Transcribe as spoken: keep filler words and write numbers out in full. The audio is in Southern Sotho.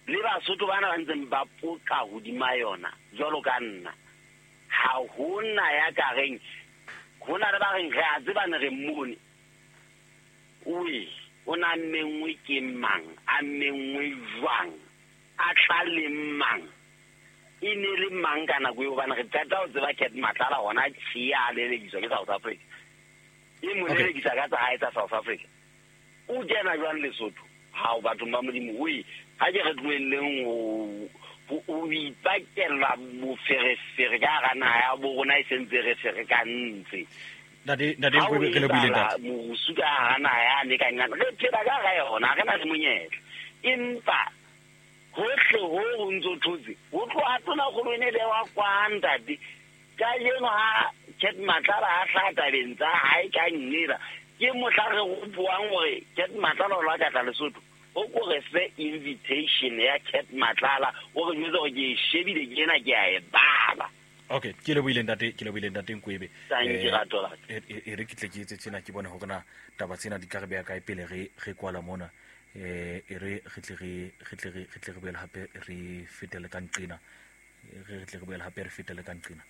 Le Basotho bana ba ntseng ba poqa hodima yona jwalo ka nna, ha hona ya ka reng ho na le ba reng re a tseba ne re mmone. Oe, o na menngwe ke mang, a menngwe jwang, a tla le mang, e ne le mang ka nako eo? Hobane re qeta ho tseba Cat Matlala hona tjhe, a lelekiswa ke South Africa, e mo Okay. lelekisa ka tsa hae tsa South Africa. O kena jwang Lesotho? Hao, bathong ba Modimo, oe, ha ke re tlohelleng ho ho ho ipakela boferefere ka hara naha ya bo rona e sentse re ferekantse. Ntate, ntate Ha o Nkwebe, re lebohile, etsahala ntate. Morusu ka hara naha yane ka nqane, re phela ka hara yona, ha re na le monyetla, empa hohle ho ho ntso thotse ho tloha tonakgolo e ne bewa kwa ntate. Kajeno ha Cat Matlala a hlaha tabeng tsa hae ka nnela, ke mohla re gopoang hore Cat Matlala o la ka tla Lesotho. O ko re fe invitation ya Cat Matlala, o re jwetse hore ke e shebile, ke ena, ke a e bala. Okay, ke lebohile, ntate, ke lebohile, ntate Nkwebe. Thank you, Eh, rato la ka. e e- e re ke tle ke etse tjena, ke bone hore na taba tsena di tla re beha kae pele re re kwala mona. eh e re re tle re re tle re re tle re boele hape re fetele ka nqena, re re tle re boele hape re fetele ka nqena.